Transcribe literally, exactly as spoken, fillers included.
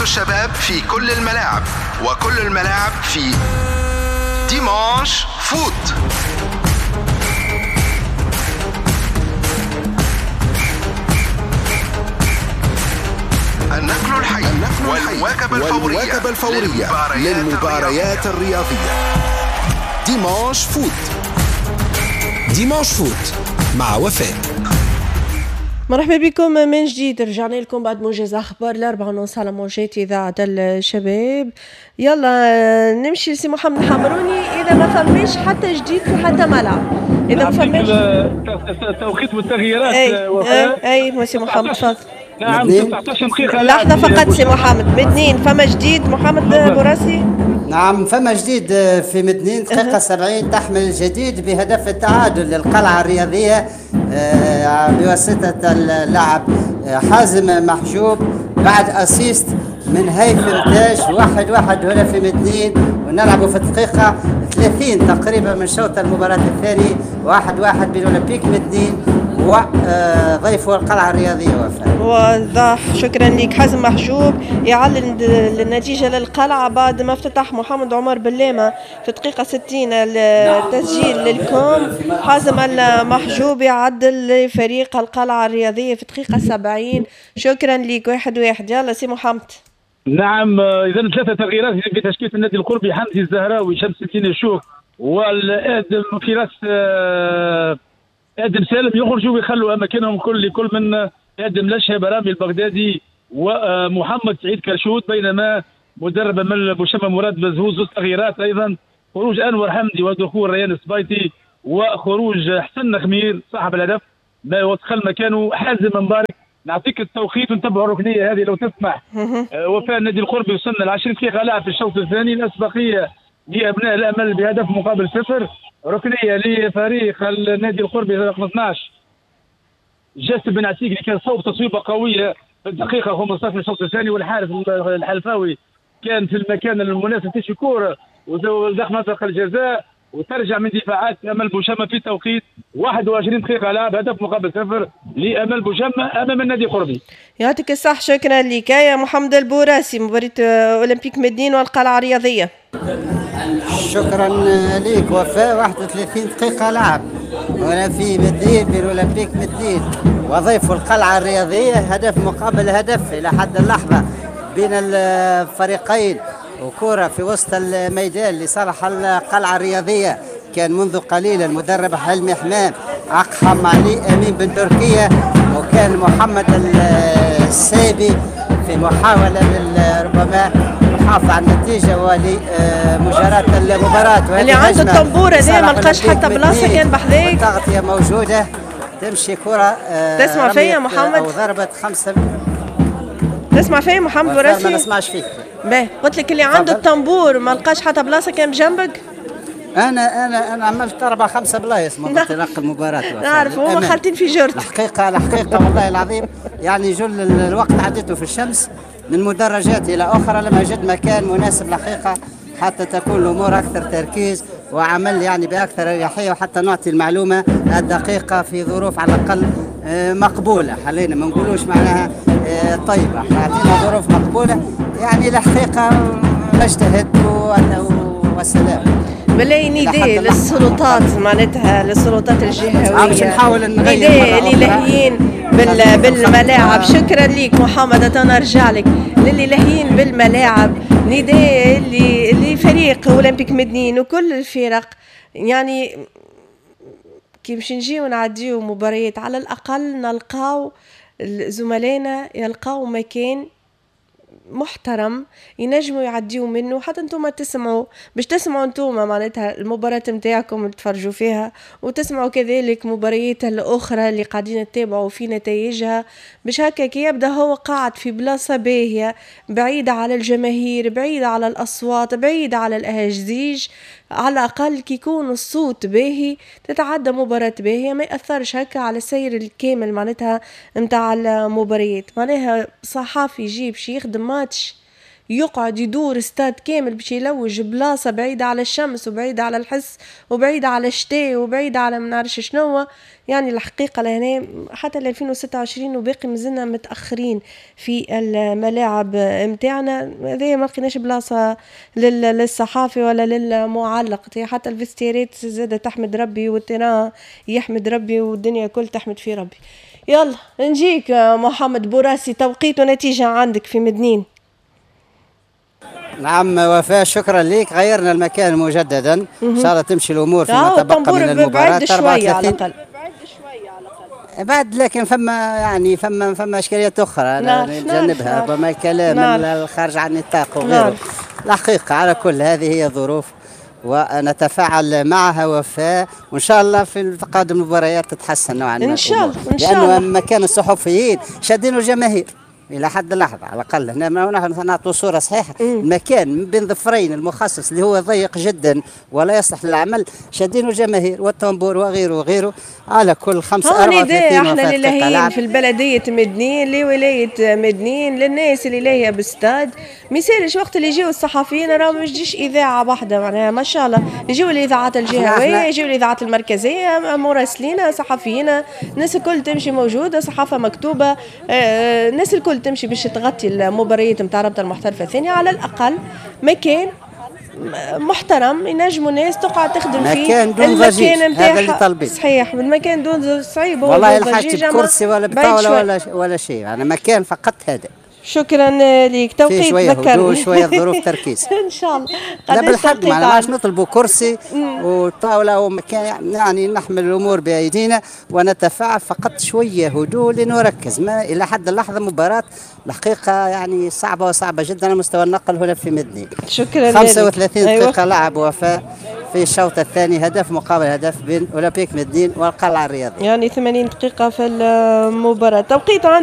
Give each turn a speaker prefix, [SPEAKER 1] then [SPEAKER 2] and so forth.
[SPEAKER 1] الشباب في كل الملاعب، وكل الملاعب في Dimanche Foot. النقل الحي والمواكبة الفورية, والمواكبة الفورية للمباريات الرياضية. Dimanche Foot.
[SPEAKER 2] Dimanche Foot مع وفاء.
[SPEAKER 3] مرحبا بكم من جديد، رجعنا لكم بعد موجز اخبار الأربعة ونص على موجات اذاعة الشباب. يلا نمشي لسي محمد الحمروني، اذا ما فماش حتى جديد في حتى ملعب، اذا ما فماش
[SPEAKER 4] التوقيت والتغييرات.
[SPEAKER 3] اي اي, أي سي محمد تفضل.
[SPEAKER 4] نعم تسعطاش دقيقة،
[SPEAKER 3] لحظة فقط سي محمد. مدنين فما جديد محمد بوراسي؟
[SPEAKER 5] نعم فما جديد في مدنين، دقيقة سبعين تحمل الجديد بهدف التعادل للقلعة الرياضية بواسطة اللاعب حازم محجوب بعد assist من هيثم تاج. واحد واحد هنا في مدنين، ونلعب في الدقيقة ثلاثين تقريبا من شوط المباراة الثاني. واحد واحد بين أولمبيك مدنين وضيفه القلعة الرياضية. وفاء
[SPEAKER 3] واضح، شكرا لك. حازم محجوب يعلن النتيجة للقلعة بعد ما افتتح محمد عمر بلامة في دقيقة ستين التسجيل للكوم. حازم المحجوب يعدل لفريق القلعة الرياضية في دقيقة سبعين. شكرا لك. واحد واحد. يلا سي محمد.
[SPEAKER 4] نعم إذا ثلاثة تغييرات في تشكيلة النادي القربي: حمدي الزهراوي، شمس الدين الشوك، والآدم في راس ادم سالم، يخرجوا ويخلوا اماكنهم كل كل من ادم لشهب، رامي البغدادي، ومحمد سعيد كرشود. بينما مدرب امل بوشمه مراد بزهوز زوج تغييرات ايضا: خروج انور حمدي ودخول ريان السبايتي، وخروج حسن خمير صاحب الهدف ما ودخل مكانه حازم مبارك. نعطيك التوقيت ونتبعوا الركنيه هذه لو تسمح. وفاء النادي القربي وصلنا ل عشرين دقيقة لعب في الشوط الثاني، الاسبقيه لابناء الامل بهدف مقابل صفر. ركنيه لفريق النادي القربي رقم اثناش جاسم بن عتيق اللي كان صوب تصويبه قوية في الدقيقة خمسطاش من الشوط الثاني، والحارس الحلفاوي كان في المكان المناسب تشي كورة ودخل منطقة الجزاء وترجع من دفاعات امل بوشمه في توقيت واحد وعشرين دقيقة لعب، هدف مقابل صفر لامل بوشمه امام النادي القربي.
[SPEAKER 3] يعطيك الصح، شكرا لك يا محمد البوراسي. مباراة اولمبيك مدنين والقلعه الرياضية.
[SPEAKER 5] شكرا لك وفاء. واحد وثلاثين دقيقة لعب هنا في مدنين بين أولمبيك مدنين وضيف القلعة الرياضية، هدف مقابل هدف إلى حد اللحظة بين الفريقين، وكرة في وسط الميدان لصالح القلعة الرياضية. كان منذ قليل المدرب حلمي حمام أقحم علي أمين بن تركيا، وكان محمد السيبي في محاولة ربما محافظة على النتيجة ولمجاراة المباراة.
[SPEAKER 3] اللي عنده الطنبورة هذا ما لقاش حتى بلاصة كان بحذاك.
[SPEAKER 5] التغطية موجودة، تمشي كرة.
[SPEAKER 3] تسمع فيا محمد؟
[SPEAKER 5] أو ضربة خمسة.
[SPEAKER 3] تسمع فيا محمد وراسي؟
[SPEAKER 5] ما نسمعش فيك.
[SPEAKER 3] باهي، قلت لك اللي عنده الطنبور ما لقاش حتى بلاصة كان بجنبك؟
[SPEAKER 5] انا انا انا عملت اربع خمسة بلايص منذ انطلاق المباراة.
[SPEAKER 3] نعرف هما خالطين في جرد.
[SPEAKER 5] الحقيقة الحقيقة والله العظيم يعني جل الوقت عديته في الشمس من مدرجات الى اخرى، لم اجد مكان مناسب الحقيقة حتى تكون الامور اكثر تركيز وعمل يعني باكثر اريحية، وحتى نعطي المعلومة الدقيقة في ظروف على الاقل مقبولة. خلينا ما نقولوش معناها طيبة، احنا اعطينا ظروف مقبولة يعني الحقيقة نجتهد والسلام.
[SPEAKER 3] بالله نداء للسلطات، معناتها للسلطات الجهوية
[SPEAKER 5] باش نحاول نغير
[SPEAKER 3] نداء اللي لاهيين بال بالملاعب. شكرا لك محمد، انا نرجع لك للي لاهيين بالملاعب. نداء اللي لفريق اولمبيك مدنين وكل الفرق، يعني كي باش نجيو نعديو مباريات على الاقل نلقاو زملائنا يلقاو مكان محترم ينجموا يعديوا منه، حتى انتم تسمعوا، باش تسمعوا انتم معناتها المباراة نتاعكم تفرجوا فيها، وتسمعوا كذلك مباريات الاخرى اللي قاعدين تتابعوا في نتائجها، باش هكا كي يبدا هو قاعد في بلاصة باهية بعيدة على الجماهير، بعيدة على الأصوات، بعيدة على الأهازيج، على الأقل كي يكون الصوت باهي تتعدى مباراة باهية، ما يأثرش هكا على السير الكامل معناتها نتاع المباريات. معناها صحافي يجي باش يخدم ماتش يقعد يدور استاد كامل باش يلوج بلاصة بعيدة على الشمس وبعيدة على الحس وبعيدة على الشتاء وبعيدة على ما نعرفش شنو. يعني الحقيقة لهنا حتى ألفين وستة وعشرين وباقي مازلنا متاخرين في الملاعب نتاعنا، هذايا ما لقيناش بلاصة للصحافي ولا للمعلق، حتى ال vestiaire ات زادة تحمد ربي وال terrain يحمد ربي والدنيا كل تحمد في ربي. يلا نجيك محمد بوراسي، توقيت ونتيجة عندك في مدنين.
[SPEAKER 5] نعم وفاء، شكرا لك. غيرنا المكان مجددا، ان شاء الله تمشي الامور فيما تبقى من المباراة.
[SPEAKER 3] شوية على الاقل
[SPEAKER 5] بعد، لكن فما يعني فما فما اشكاليات اخرى نتجنبها، ربما الكلام الخارج عن النطاق وغيره. الحقيقة على كل هذه هي ظروف ونتفاعل معها وفاء، وان شاء الله في تقادم المباريات تتحسن نوعا ما
[SPEAKER 3] ان شاء الله. ان شاء الله،
[SPEAKER 5] لانه مكان الصحفيين شادينه الجماهير الى حد اللحظة على الاقل. هنا نحن نعطوا صوره صحيحه، المكان بين ظفرين المخصص اللي هو ضيق جدا ولا يصلح للعمل شادينه الجماهير والطنبور وغيره وغيره. على كل خمسة أربعة وثلاثين
[SPEAKER 3] احنا اللي لاهيين في البلدية مدنين، لولاية مدنين، للناس اللي لاهية بالستاد، ما يصيرش وقت اللي يجيو الصحفيين راه ما يجيش اذاعة واحدة، معناها ما شاء الله يجيو الاذاعات الجهوية، يجيو الاذاعات المركزية، مراسلين، صحفيين، الناس الكل تمشي موجودة، صحافة مكتوبة، الناس الكل تمشي باش تغطي المباريات نتاع رابطه المحترفه الثانية. على الاقل مكان محترم ينجموا الناس تقعد تخدم فيه،
[SPEAKER 5] مكان دون ضجيج، هذا اللي طالبين.
[SPEAKER 3] صحيح، المكان دون صعيب
[SPEAKER 5] والله، لا حاجة بكرسي ولا بطاوله ولا ولا شيء، يعني مكان فقط هذا.
[SPEAKER 3] شكرا لك. توقيت
[SPEAKER 5] شوية هدوء، شوية ظروف تركيز
[SPEAKER 3] ان شاء الله.
[SPEAKER 5] لا بالحق ما عادش نطلبوا كرسي وطاوله ومكان، يعني نحمل الامور بايدينا ونتفاعل، فقط شوية هدوء لنركز. ما الى حد اللحظة مباراة الحقيقة يعني صعبة وصعبة جدا على مستوى النقل هنا في مدنين.
[SPEAKER 3] شكرا.
[SPEAKER 5] خمسة وثلاثين دقيقة أيوة. لعب وفاء في الشوط الثاني، هدف مقابل هدف بين اولمبيك مدنين والقلعه الرياضية،
[SPEAKER 3] يعني ثمانين دقيقة في المباراة. توقيت